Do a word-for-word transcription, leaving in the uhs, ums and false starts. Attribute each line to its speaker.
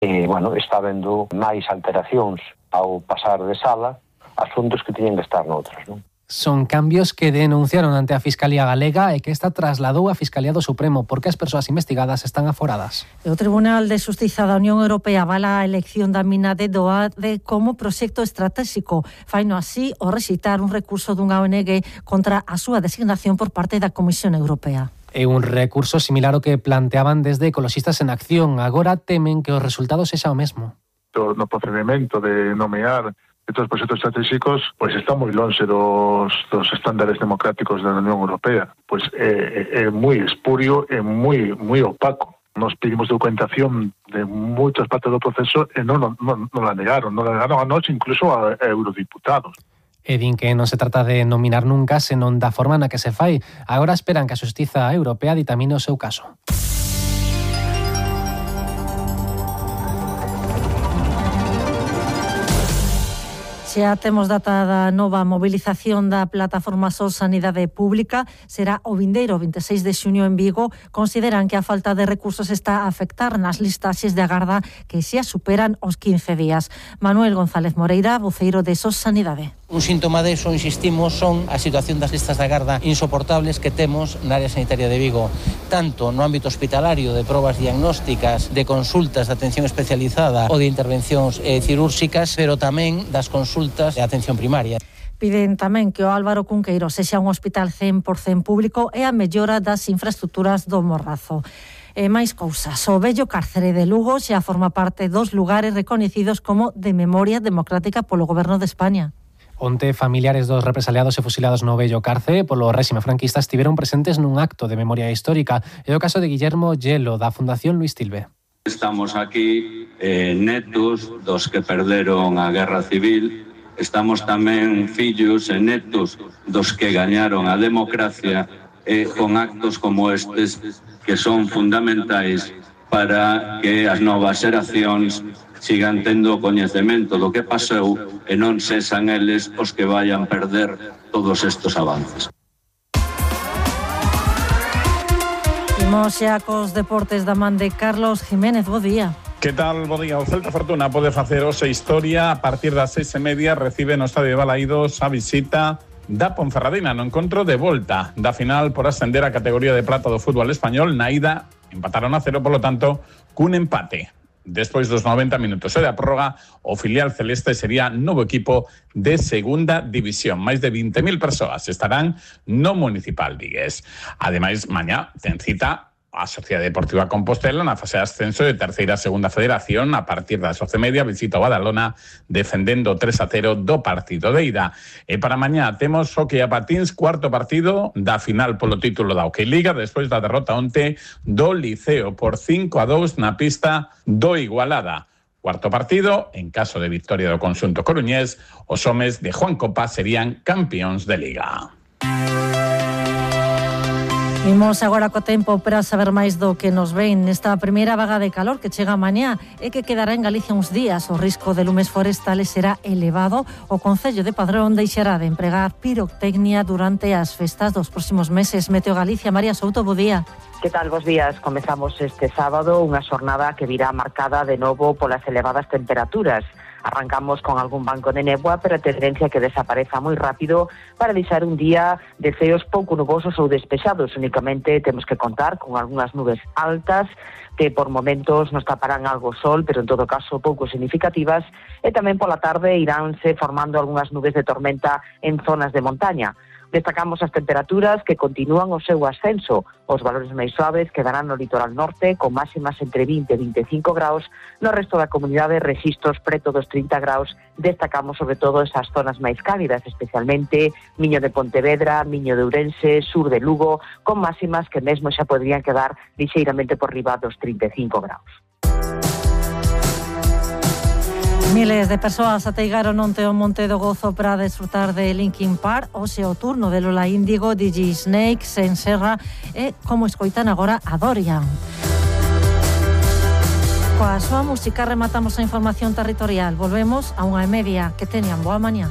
Speaker 1: E, bueno, está vendo máis alteracións ao pasar de sala, asuntos que tiñen que estar noutras, non?
Speaker 2: Son cambios que denunciaron ante a Fiscalía Galega e que esta trasladou a Fiscalía do Supremo porque as persoas investigadas están aforadas.
Speaker 3: O Tribunal de Xustiza da Unión Europea avala a elección da mina de Doade como proxecto estratégico. Faino así o rexeitar un recurso dunha O N G contra a súa designación por parte da Comisión Europea.
Speaker 2: É un recurso similar ao que planteaban desde Ecoloxistas en Acción. Agora temen que o resultado sexa o mesmo.
Speaker 4: No procedimento de nomear estos proxectos estratégicos, pois está moi lonxe dos, dos estándares democráticos da Unión Europea. Pois é, é moi espurio, é moi moi opaco. Nos pedimos documentación de moitas partes do proceso e non, non, non, non la negaron, non la negaron a nós, incluso a, a eurodiputados.
Speaker 2: E din que non se trata de nominar nunca, senón da forma na que se fai. Agora esperan que a Xustiza Europea ditamine o seu caso.
Speaker 3: Xa temos data da nova mobilización da plataforma Sol Sanidade Pública. Será o vindeiro vinte e seis de xuño en Vigo. Consideran que a falta de recursos está a afectar nas listaxes de agarda que xa superan os quince días. Manuel González Moreira, voceiro de Sol Sanidade.
Speaker 5: Un síntoma deso, insistimos, son a situación das listas de agarda insoportables que temos na área sanitaria de Vigo, tanto no ámbito hospitalario de probas diagnósticas, de consultas de atención especializada ou de intervencións eh, cirúrxicas, pero tamén das consultas de atención primaria.
Speaker 3: Piden tamén que o Álvaro Cunqueiro sexa un hospital cen por cento público e a mellora das infraestructuras do Morrazo. E máis cousas, o vello cárcere de Lugo xa forma parte dos lugares recoñecidos como de memoria democrática polo Goberno de España.
Speaker 2: Onte, familiares dos represaliados e fusilados no vello cárcere polo réxime franquista estiveron presentes nun acto de memoria histórica. É o caso de Guillermo Yelo, da Fundación Luis Tilbe.
Speaker 6: Estamos aquí eh, netos dos que perderon a Guerra Civil. Estamos tamén fillos e netos dos que gañaron a democracia e con actos como estes que son fundamentais para que as novas xeracións sigan tendo coñecemento do que pasou e non sexan eles os que vayan perder todos estes avances.
Speaker 3: Imos xa cos deportes da man de Carlos Jiménez. Bo día.
Speaker 7: Que tal, bo día? O Celta Fortuna pode facer hoxe historia. A partir das seis e media recibe no Estadio de Balaídos a visita da Ponferradina no encontro de volta da final por ascender a categoría de prata do fútbol español. Na ida empataron a cero, polo tanto, cun empate. Despois dos noventa minutos e da prórroga, o filial celeste sería novo equipo de segunda división. Máis de vinte mil persoas estarán no Municipal Vigués. Ademais, mañá ten cita a Sociedade Deportiva Compostela na fase de ascenso de terceira a segunda federación. A partir das once e media visita o Badalona defendendo tres a cero do partido de ida. E para mañá temos hockey a patins, cuarto partido da final polo título da Hockey Liga despois da derrota onte do Liceo por cinco a dous na pista do Igualada. Cuarto partido, en caso de victoria do conxunto coruñés, os homes de Juan Copa serían campións de Liga.
Speaker 3: Imos agora co tempo para saber máis do que nos ven nesta primeira vaga de calor que chega mañá e que quedará en Galicia uns días. O risco de lumes forestales será elevado. O Concello de Padrón deixará de empregar pirotecnia durante as festas dos próximos meses. Meteo Galicia, María Souto, bo día.
Speaker 8: Que tal, bos días? Comezamos este sábado unha xornada que virá marcada de novo polas elevadas temperaturas. Arrancamos con algún banco de néboa, pero a tendencia que desapareza moi rápido para deixar un día de ceos pouco nubosos ou despexados. Únicamente temos que contar con algunhas nubes altas que por momentos nos taparán algo sol, pero en todo caso pouco significativas, e tamén pola tarde iránse formando algunhas nubes de tormenta en zonas de montaña. Destacamos as temperaturas que continúan o seu ascenso. Os valores máis suaves quedarán no litoral norte, con máximas entre vinte e vinte e cinco graus. No resto da comunidade, rexistros preto dos trinta graus. Destacamos sobre todo esas zonas máis cálidas, especialmente Miño de Pontevedra, Miño de Ourense, sur de Lugo, con máximas que mesmo xa podrían quedar lixeiramente por riba dos trinta e cinco graus.
Speaker 3: Miles de persoas ateigaron onte o Monte do Gozo para desfrutar de Linkin Park. Hoxe o turno de Lola Índigo, D J Snake, Sen Serra e, como escoitan agora, a Dorian. Coa súa música rematamos a información territorial. Volvemos a unha e media. Que teñan boa mañá.